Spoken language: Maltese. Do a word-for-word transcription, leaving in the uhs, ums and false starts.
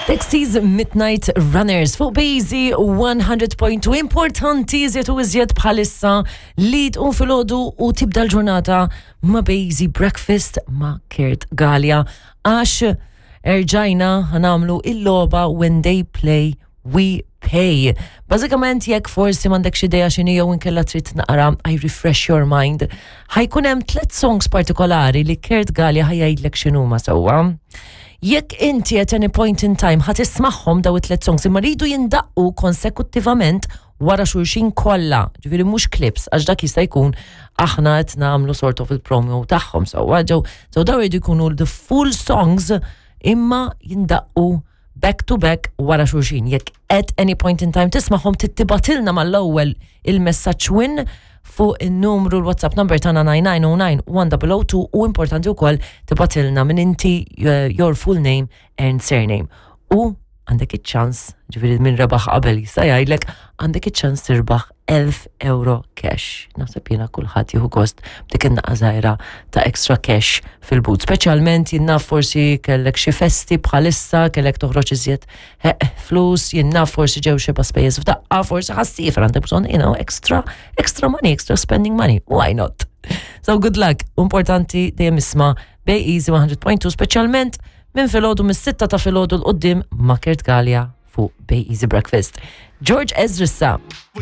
Dexys Midnight Runners fuq B-Easy one hundred point two. Importanti iżjed u iżjed bħalissa li tqum filgħodu u tibda l-ġurnata ma' B-Easy Breakfast ma' Kurt Galea, għax erġajna ħa nagħmlu il-logħba When They Play We Pay. Bażikament, jekk forsi m'għandekx idea x'inhi jew inkella trid naqra I refresh your mind, ħa jkun hemm tliet songs partikolari li Kurt Galea ħa jgħidlek x'inhuma, sewwa? Jekk inti at any point in time ħa tismagħhom daw it-tliet songs, imma rridu jindaqqu konsekuttivament wara xulxin kollha, ġifieri mhux clips, għax dak jista' jkun aħna qed nagħmlu sort of il-promo tagħhom, sewwa? Ġew so daw jridu jkunu the full songs imma jindaqqu back to back wara xulxin. Jekk at any point in time tismagħhom, tibgħatilna mal-ewwel il-messaġġ "win" fuq il-numru l-WhatsApp number tagħna nine nine zero nine one zero zero two u importanti wkoll tibgħatilna minn inti, uh, your full name and surname. U għandek iċ-ċans, ġifieri minn rebaħ qabel jista' jgħidlek, għandek iċ-ċans tirbaħ elf euro cash. Naħseb jiena kulħadd jieħu gost b'dik in-naqra żgħira ta' extra cash fil-but. Speċjalment jien naf forsi kellek xi festi bħalissa, kellek toħroġ iżjed flus, jien naf forsi ġew xi spejjeż f'daqqa, forsi ħa ssiefer, għandek bżonn you know, extra, extra money, extra spending money. Why not? So good luck. Importanti dejjem isma' B-Easy one hundred point two, speċjalment minn filgħodu, mis-sitta ta' filgħodu 'l quddiem ma' Kurt Galea fuq B-Easy Breakfast. George Ezra.